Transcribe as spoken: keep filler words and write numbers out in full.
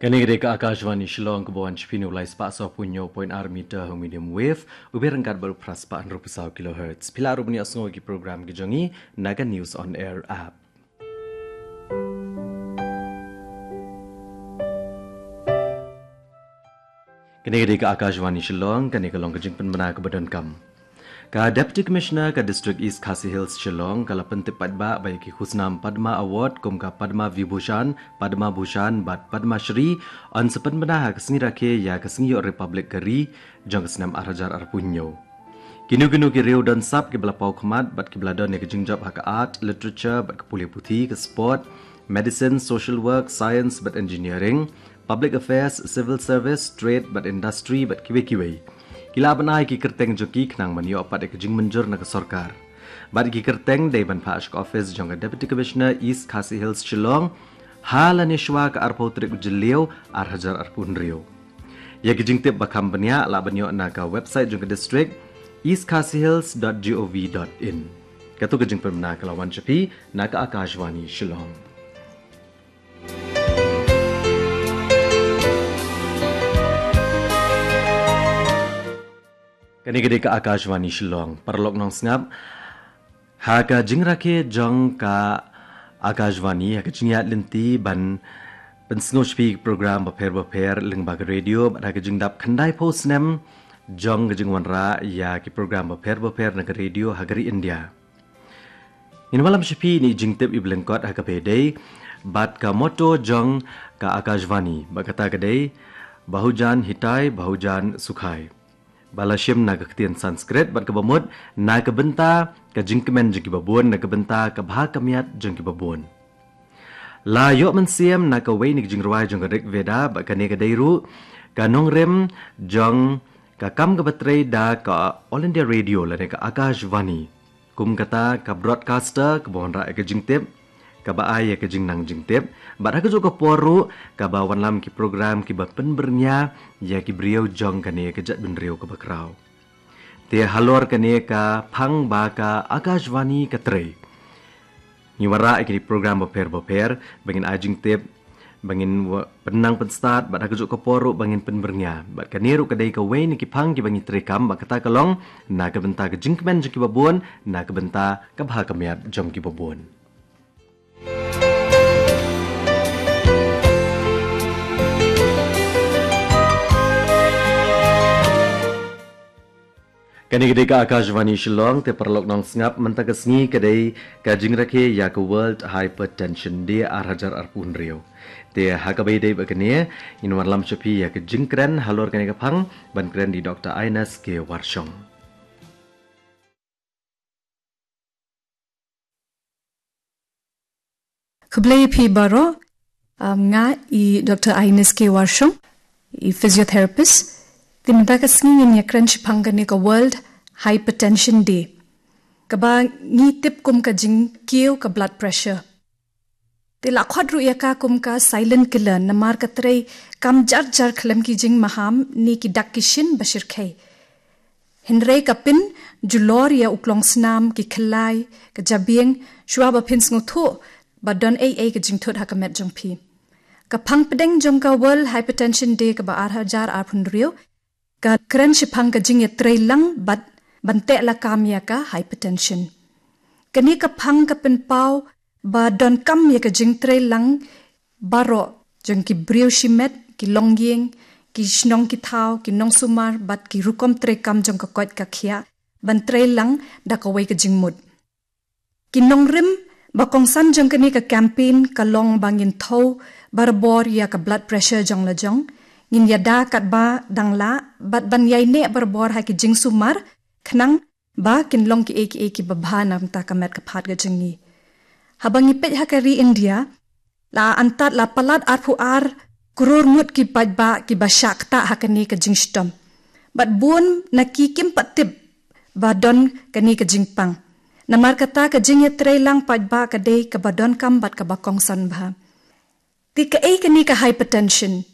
Kane ka dei ka Akashvani Shillong, ka ba wan sha phi na u lai spah saw phew hynñiew point ar meter ha u medium wave, u byrngkat bad u phra spah hynriew phew saw kilohertz. Phi lah ruh ban ïohsngew ki program ki jong ngi na ka News on Air app. Kane ka dei ka Akashvani Shillong, kane ka long ka jingpynbna ka ba donkam. Ka Deputy Commissioner ka District East Khasi Hills Shillong ka la pyntip paidbah ba ïa ki khusnam Padma Award kum ka Padma Vibhushan, Padma Bhushan bad Padma Shri yn sa pynbna ha ka sngi rakhe ïa ka sngi ïoh Republic ka ri jong ka snem ar hajar arphew hynñiew. Kino kino ki riew don sap ki ba la paw khmat bad ki ba la don ïa ka jingjop ha ka art, literature bad ka pule puthi, ka sport, medicine, social work, science bad engineering, public affairs, civil service, trade bad industry bad kiwei kiwei. Ki lah ban ai ki kyrteng jong ki khnang ban ïoh pat ïa ka jingmynjur na ka sorkar. Bad ki kyrteng dei ban phah sha ka office jong ka Deputy Commissioner East Khasi Hills Shillong ha lane shwa ka arphew tarik u Jylliew ar hajar arphew hynriew. Ïa ki jingtip ba kham bniah lah ban ïoh na ka website jong ka district, east khasi hills dot gov dot in. Kato ka jingpynbna ka la wan sha phi na ka Akashvani Shillong. Kane ka dei ka Akashvani Shillong, paralok nongsngap. Ha ka jingrakhe jong ka Akashvani, ha ka jingïaid lynti ban pynsngew sha phi ki program bapher bapher lyngba ka radio, bad ha ka jingdap khyndai phew snem jong ka jingwanrah ïa ki program bapher bapher na ka radio ha ka ri India. Ngin wallam sha phi ïa i jingtip i ba lyngkot ha kaba ïadei bad ka motto jong ka Akashvani, ba kata ka dei, Bahujan Hitai, Bahujan Sukhai. Ba la shim na ka ktien Sanskrit bad kaba mut na ka bynta ka jingkmen jong ki babun, na ka bynta ka bha ka miat jong ki babun. La ïoh mynsiem na kawei na ki jingrwai jong ka Rig Veda, bad kane ka dei ruh ka nongrim jong ka kam kaba trei da ka All India Radio lane ka Akashvani kum kata ka broadcaster kaba wanrah ïa ka jingtip, kaba ai ïa ka jingnang jingtip, bad ha kajuh ka por ruh kaba wanlam ki program kiba pynbyrngia ïa ki briew jong kane ka jaitbynriew kaba khraw. Te halor kane ka phang ba ka Akashvani ka trei, ngi wanrah ïa ki program bapher bapher ba ngin ai jingtip, ba ngin wa-, pynnang pynstad, bad ha kajuh ka por ruh ba ngin pynbyrngia. Bad kane ruh ka dei kawei na ki phang kiba ngi treikam, bad kata ka long na ka bynta ka jingkmen jong ki babun, na ka bynta ka bha ka miat jong ki babun. Kane ka dei ka Akashvani Shillong, te paralok nongsngap, mynta ka sngi ka dei ka jingrakhe ïa ka World Hypertension Day ar hajar arphew hynriew. Te ha kaba ïadei bad kane, ngin wanlam sha phi ïa ka jingkren halor kane ka phang, ban kren da i Doktor Ines K Warshong. Khublei ïa phi baroh, um, nga i Doktor Ines K Warshong, i physiotherapist. Te mynta ka sngi ngin ïakren shaphang kane ka World Hypertension Day, kaba ngi tip kum ka jingkiew ka blood pressure. Te la khot ruh ïa ka kum ka silent killer, namar ka trei kam jar jar khlem ki jingmaham ne ki dak ki shin ba shyrkhei. Hynrei ka pynjulor ïa u klongsnam, ki khlai, ka jabieng, shuwa ba phin sngewthuh ba don ei ei ka jingthut ha ka met jong phi. Ka phang pdeng jong ka World Hypertension Day kaba ar hajar arphew hynriew ka kren shaphang ka jingïatreilang bad ban teh lakam ïa ka hypertension. Kane ka phang ka pynpaw ba donkam ïa ka jingtreilang baroh jong ki briew shimet, ki longïing, ki shnong ki thaw, ki nongsumar bad ki rukom treikam jong ka koit ka khiah ban treilang da kawei ka jingmut. Ki nongrim ba kongsan jong kane ka campaign ka long ba ngin thew barabor ïa ka blood pressure jong la jong, ngin ïada katba dang lah, bad ban ïaineh barabor ha ki jingsumar, khnang ba kin long kiei kiei kiba bha na ka bynta ka met ka phad ka jong ngi. Haba ngi peit ha ka ri India, la antad la palat arphew ar klur ngut ki paidbah kiba shah ktah ha kane ka jingshitom. Bad bun na ki kim pat tip ba don kane ka jingpang. Namar kata ka jingïatreilang paidbah ka dei kaba donkam bad kaba kongsan bha. Te kaei kane ka hypertension?